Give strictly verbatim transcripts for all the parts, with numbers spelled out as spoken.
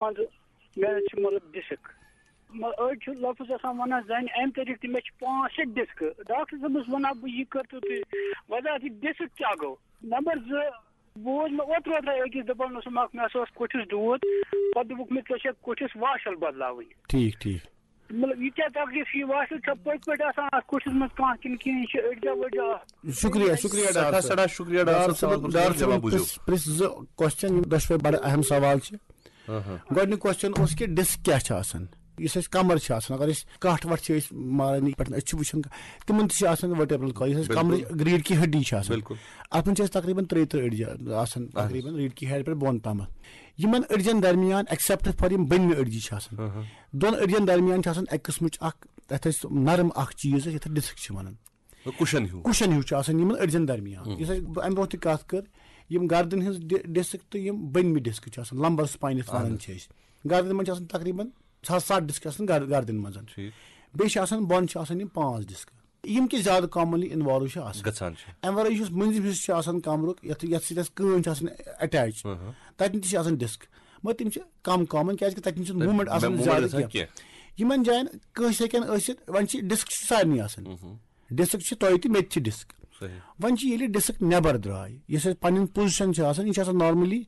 منٛزٕ مےٚ چھِ مطلب ڈِسک۔ مطلب أڑۍ چھِ لفظ آسان وَنان زَنہِ اَمہِ طریٖقہٕ تہِ، مےٚ چھِ پانٛژھ شےٚ ڈِسکہٕ۔ ڈاکٹر صٲبَس وَنان بہٕ، یہِ کٔرۍتو تُہۍ وضاحت، یہِ ڈِسک کیٛاہ گوٚو؟ نمبر زٕ، بوز مےٚ اوترٕ اوترٕ أکِس دَپان اوسُم اَکھ، مےٚ ہسا اوس کوٚٹھِس دود، پَتہٕ دوٚپُکھ مےٚ، ژےٚ چھےٚ کوٚٹھِس واشَل بدلاوٕنۍ۔ ٹھیٖک، ٹھیٖک۔ مطلب یہِ کیٛاہ تکلیٖف چھِ، یہِ واشَل چھا پٔتۍ پٲٹھۍ آسان اَتھ کوٚٹھِس منٛز کانٛہہ کِنہٕ کِنہٕ یہِ چھِ أڑجا ؤڑجا؟ شُکریہ، شُکریہ ڈاکٹر سٮ۪ٹھاہ، صٲب۔ سٮ۪ٹھاہ شُکریہ ڈاکٹر ڈاکٹر صٲب۔ صٲبن، ڈاکٹر صٲبن پرٛژھ، پرٛژھ زٕ کوسچن، یِم دۄشوے بڑٕ اہم سوال چھِ۔ ہاں، ہاں۔ گۄڈٕنیُک کوسچن اوس کہِ ڈِسک کیٛاہ چھِ آسان؟ یُس اَسہِ کمر چھِ آسان، اگر أسۍ کَٹھ وَٹھ چھِ أسۍ ماران، یِتھ پٲٹھۍ أسۍ چھِ وٕچھان، تِمن تہِ چھِ آسان vertebral column، یُس اَسہِ بِلکُل۔ کمرٕچ ریٖڈ کی ہڈی چھِ آسان۔ بِلکُل۔ اَتھ منٛز چھِ اَسہِ تقریٖباً ترٛیہِ ترٕٛہ أڈجہِ آسان، اہن حظ۔ تقریٖباً ریٖڈ کی ہڈ پٮ۪ٹھ بۄن تامَتھ۔ یِمن أڈجن درمیان، except for یِم بٔنمہِ أڈجہِ چھِ آسان، ہاں، ہاں۔ دۄن أڈجن درمیان چھِ آسان اَکہِ قٕسمٕچ اکھ، یَتھ أسۍ نرم اکھ چیٖز، یَتھ ڈِسک چھِ وَنان۔ کُشن ہیوٗ۔ کُشن ہیوٗ چھُ آسان یِمن أڈجن درمیان۔ ہُم۔ یُس اَسہِ بہٕ اَمہِ برونٛہہ تہِ کَتھ کٔر، یِم گردن ہٕنٛز ڈِ-، ڈِسک تہٕ یِم بٔنمہِ ڈِسک چھِ آسان، lumbar spine یَتھ اہن وَنان حظ۔ چھِ أسۍ۔ گردن منٛز چھِ آسان تقریٖباً سَتھ، سَتھ ڈِسک آسان گر-، گردن منٛز۔ ٹھیٖک۔ بیٚیہِ چھِ آسان، بۄن چھِ آسان یِم پانٛژھ ڈِسک، یِم کہِ زیادٕ commonly involve چھِ آسان۔ گژھان چھِ۔ اَمہِ وَرٲے یُس مٔنٛزِم حِصہٕ چھُ آسان کمرُک، یَتھ، یَتھ سۭتۍ اَسہِ کٲنۍ چھِ آسان attach، ہاں، ہاں۔ تَتٮ۪ن تہِ چھِ آسان ڈِسک، مگر تِم چھِ کَم common، کیٛازِ کہِ تَتٮ۪ن چھِنہٕ تَتہِ movement آسان مےٚ movement زیادٕ گژھان کینٛہہ۔ کینٛہہ۔ یِمن جاین کٲنٛسہِ ہیٚکن ٲسِتھ، وۄنۍ چھِ ڈِسک چھِ سارنٕے آسان۔ ہُم، ہُم۔ ڈِسک چھِ تۄہہِ تہِ، مےٚ تہِ چھِ ڈِسک۔ صحیح۔ وۄنۍ چھِ ییٚلہِ ڈِسک نٮ۪بر درٛاے، یۄس اَسہِ پنٕنۍ position چھِ آسان، یہِ چھِ آسان normally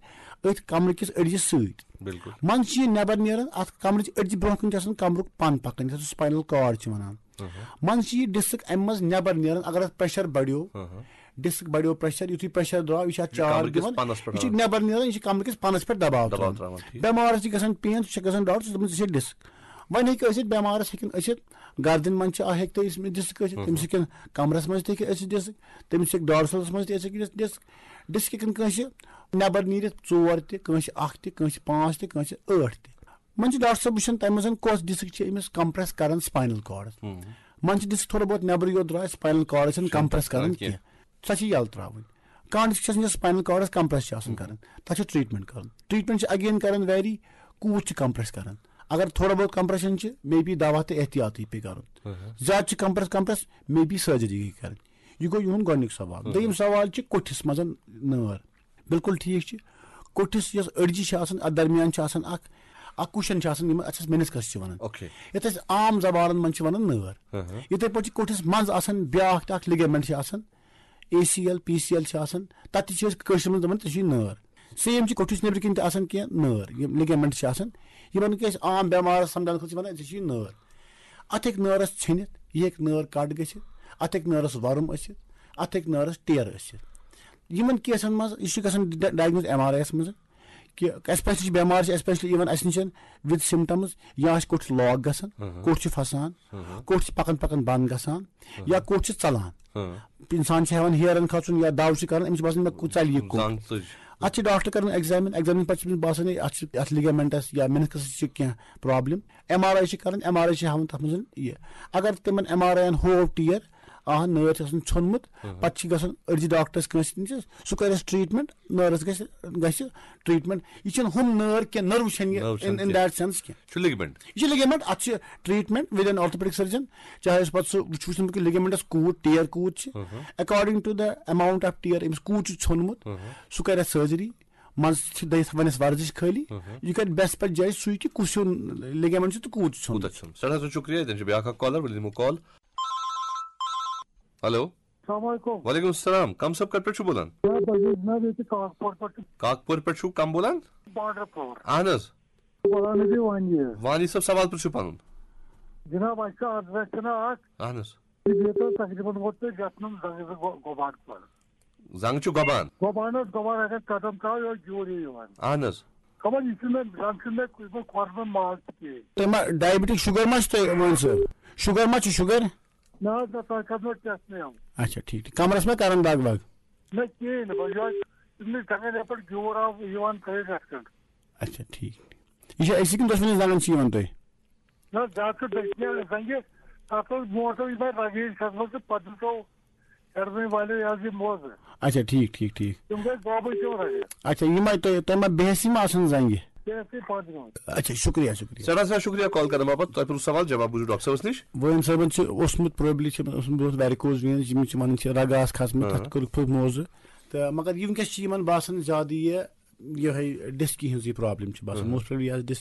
أتھۍ کمرٕ کِس أڈجہِ سۭتۍ۔ بِلکُل۔ منٛزٕ چھِ یہِ نٮ۪بر نیران، اَتھ کمرٕچ أڈجہِ برٛونٛہہ کِنۍ چھِ آسان کمرُک پن پکان، یَتھ أسۍ spinal cord چھِ وَنان۔ ہُم۔ منٛزٕ چھِ یہِ ڈِسک اَمہِ منٛز نٮ۪بر نیران، اگر اَتھ pressure بڑیو، ہُم۔ ڈِسک بڑیو pressure، یُتھُے pressure درٛاو، یہِ چھِ اَتھ یہِ چھُ چارج کمرٕ کِس دِوان، پنَس پٮ۪ٹھ یہِ چھُ اَنان۔ نٮ۪بر نیران، یہِ چھِ کمرٕ کِس پنَس پٮ۪ٹھ دباو دباو ترٛاوان۔ ترٛاوان، ٹھیٖک۔ بٮ۪مارَس چھِ گژھان pain، سُہ چھِ گژھان ڈاکٹر صٲبَس، ژےٚ چھِ ڈِسک۔ وۄنۍ ہیٚکہِ ٲسِتھ، بٮ۪مارَس ہیٚکن ٲسِتھ، گردن منٛز چھِ آ، ہیٚکہِ تٔمِس ڈِسک ٲسِتھ، ہُم۔ تٔمِس ہیٚکن کمرس منٛز تہِ ہیٚکہِ ٲسِتھ ڈِسک، تٔمِس ہیٚکہِ dorsal منٛز تہِ ٲسِتھ ڈِسک۔ ڈِسک ہیٚکن کٲنٛسہِ نٮ۪بر نیٖرِتھ ژور تہِ، کٲنٛسہِ اکھ تہِ، کٲنٛسہِ پانٛژھ تہِ، کٲنٛسہِ ٲٹھ تہِ۔ وۄنۍ چھِ ڈاکٹر صٲب وٕچھان، تَمہِ منٛز کۄس ڈِسک چھِ أمِس compress کران spinal cordس۔ ہُم۔ منٛز چھِ ڈِسک تھوڑا بہت نٮ۪برٕے یوت درٛاے، spinal cordس چھِنہٕ چھِنہٕ compress کران کران کینٛہہ۔ کینٛہہ۔ سۄ چھِ یَلہٕ ترٛاوٕنۍ۔ کانٛہہ ڈِسک چھِ آسان، یۄس spinal cordس compress چھِ آسان ہُم۔ کران، تَتھ چھِ treatment کران۔ Treatment چھِ again کران vary، کوٗت چھِ compress کران۔ اگر تھوڑا بہت compression چھِ، maybe دوا تہٕ احتیاطٕے پیٚیہِ کرُن۔ ہُم۔ زیادٕ چھِ compress، compress، maybe surgery گٔیہِ کرٕنۍ۔ یہِ گوٚو یِہُنٛد گۄڈٕنیُک سوال۔ ہُم۔ دوٚیِم سوال چھِ کوٚٹھِس منٛز نٲر۔ بِلکُل ٹھیٖک چھِ۔ کوٚٹھِس یۄس أڈجہِ چھِ آسان، اَتھ درمیان چھِ آسان اکھ، اکھ cushion چھِ آسان، یِمن، اَتھ چھِ أسۍ meniscus چھِ وَنان۔ اوکے۔ یَتھ أسۍ عام زبانن منٛز چھِ وَنان نٲر۔ ہاں، ہاں۔ یِتھَے پٲٹھۍ چھِ کوٚٹھِس منٛز آسان بیٛاکھ تہِ اکھ ligament چھِ آسان، A C L, P C L چھِ آسان، تَتھ تہِ چھِ أسۍ کٲشِر منٛز دَپان، ژےٚ چھُے نٲر۔ Same چھِ کوٚٹھِس نیٚبرٕ کِنۍ تہِ آسان کینٛہہ نٲر، یِم ligament چھِ آسان، یِمن کہِ أسۍ عام بٮ۪مارَس سَمجھاونہٕ خٲطرٕ چھِ وَنان، ژےٚ چھُے نٲر۔ اَتھ ہیٚکہِ نٲرَس ژھیٚنِتھ، یہِ ہیٚکہِ نٲر cut گٔژھِتھ، اَتھ ہیٚکہِ نٲرَس وَرُم ٲسِتھ، اَتھ ہیٚکہِ نٲرَس ٹیر ٲسِتھ۔ یِمن caseن منٛز، یہِ چھُ گژھان ڈ-، diagnose ایم آر آی یَس منٛز، کہِ especially چھِ بٮ۪مارِ چھِ، especially even اَسہِ نِش with symptoms، یا آسہِ کوٚٹھ چھُ lock گژھان، ہاں، ہاں۔ کوٚٹھ چھُ پھسان، ہاں، ہاں۔ کوٚٹھ چھِ پَکان پَکان بنٛد گژھان، ہاں۔ یا کوٚٹھ چھِ ژَلان۔ ہاں۔ اِنسان چھِ ہٮ۪وان ہیرَن کھسُن یا دَو چھِ کَران، أمِس چھِ باسان، مےٚ کوٚت ژَلہِ یہِ کوٚٹھ۔ زنٛگ ژٔج۔ اَتھ چھِ ڈاکٹر کَران examine، examine پَتہٕ چھِ أمِس باسان، ہے، اَتھ چھِ، اَتھ ligamentس یا meniscusس چھِ کینٛہہ problem۔ ایم آر آی چھِ کَران، ایم آر آی چھِ ہاوان تَتھ منٛز یہِ۔ اگر تِمَن ایم آر آیَن ہوو ٹیر، آ، نٲر چھِ آسان ژھیوٚنمُت، ہاں۔ پَتہٕ چھِ گژھان أڑجہِ ڈاکٹرَس کٲنٛسہِ نِش، سُہ کَرٮ۪س treatment، نٲرَس گژھِ، گژھِ treatment۔ یہِ چھِنہٕ ہُم نٲر کینٛہہ، نٔروٕ چھَنہٕ یہِ نٔروٕ in، چھَنہٕ in کینٛہہ۔ That sense کینٛہہ۔ چھُ ligament۔ یہِ چھُ ligament، اَتھ چھِ treatment with an orthopedic surgeon، چاہے أسۍ پَتہٕ سُہ وٕچھ، وٕچھُن کہِ ligamentس کوٗت ٹیر کوٗت چھِ۔ ہاں، ہاں۔ According to the amount of tear، أمِس کوٗت چھُ ژھیوٚنمُت، ہاں، ہاں۔ سُہ کَرِ اَتھ surgery۔ منٛزٕ چھِ دٔیِتھ وَنٮ۪س ورزش خٲلی۔ ہاں، ہاں۔ یہِ کَرِ best پَتہٕ judge سُے کہِ کُس ہیوٗ ligament چھُ تہٕ کوٗت چھُ ژھیوٚنمُت۔ کوٗتاہ چھُ ژھیوٚنمُت۔ سٮ۪ٹھاہ سٮ۪ٹھاہ شُکریہ، تیٚلہِ چھِ بیٛاکھ اَکھ caller، ؤلِو دِمو call۔ ہیلو۔ السلام علیکم۔ وعلیکم السلام، کم صٲب کَتہِ پٮ۪ٹھ چھُو بولان؟ ہے، بشیٖر جناب، ییٚتہِ کاکپور پٮ۪ٹھ چھُ۔ کاکپور پٮ۪ٹھ چھُو کم بولان؟ بارڈر پور۔ اہن حظ۔ بولان چھِ وانی۔ وانی صٲب، سوال پرٛژھِو پنُن۔ جناب، اَسہِ چھُ عرض، اَسہِ چھُنہ اکھ۔ اہن حظ۔ یہِ بیٚیہِ تۄہہِ تقریٖباً ووت تۄہہِ گژھُن زنٛگہِ زٕ گۄ-، گۄبان پَرُن۔ زنٛگ چھُ گۄبان۔ گۄبان حظ، گۄبان اگر قدم ترٛاوو، یہِ اوس گیوٗر ہیوٗ یِوان۔ اہن حظ۔ خبر یہِ چھُنہٕ مےٚ، زنٛگ چھُنہٕ مےٚ کُنہِ پٲٹھۍ کھۄر منٛز ماز تہِ کِہیٖنۍ۔ تۄہہِ ما diabetic sugar ما چھُ تۄہہِ وۄنۍ سُہ؟ Sugar ما چھُ sugar؟ نہ حظ، نہ، تۄہہِ کَرنو test مےٚ یِم۔ اچھا، ٹھیٖک، ٹھیٖک۔ کَمرَس ما کَران دَگ وَگ؟ نہ، کِہیٖنۍ نہٕ، بہٕ یِہوٚے، یِم نہٕ زَنٛگَن یَپٲرۍ گیوٗر آو یِوان تھٲیِتھ رَژھ کھنٛڈ۔ اچھا، ٹھیٖک۔ یہِ چھا أکسٕے کِنہٕ دۄشوٕنی زَنٛگَن چھِ یِوان تۄہہِ؟ نہ، زیادٕ چھُ دٔچھنہِ زَنٛگہِ، تَتھ ٲس برونٛٹھ ٲس یِمَے رَگہٕ یِنۍ کھٔژمٕژ تہٕ پَتہٕ دِژو ہیٚرمہِ والیو یہِ حظ یہِ موزٕ۔ اچھا، ٹھیٖک، ٹھیٖک، ٹھیٖک۔ تِم گٔے گوبٕنۍ تِم رَگہٕ۔ اچھا، یِمَے تۄہہِ، تۄہہِ ما بیٚہسی ما آسان زَنٛگہِ؟ بیٚہسی پَتہٕ برونٛٹھ۔ اچھا، شُکریہ، شُکریہ۔ سٮ۪ٹھاہ سٮ۪ٹھاہ شُکریہ call کَرنہٕ باپَتھ۔ تۄہہِ پرٛژھُو سوال، جواب بوٗزِو ڈاکٹر صٲبَس نِش۔ وٲیِن صٲبَن چھِ اوسمُت probably چھِ اوسمُت برونٛٹھ varicose veins، یِم چھِ وَنان چھِ رَگہٕ آسہٕ کھَسمٕتۍ، ہاں۔ تَتھ کوٚرُکھ پھُل موزٕ۔ تہٕ مگر یہِ وٕنکیٚس چھِ یِمَن باسان زیادٕ یہِ یِہوٚے ڈِسکہِ ہِنٛز یہِ پرابلم چھِ باسان، موسٹ پرابلی یَتھ ڈِسکہِ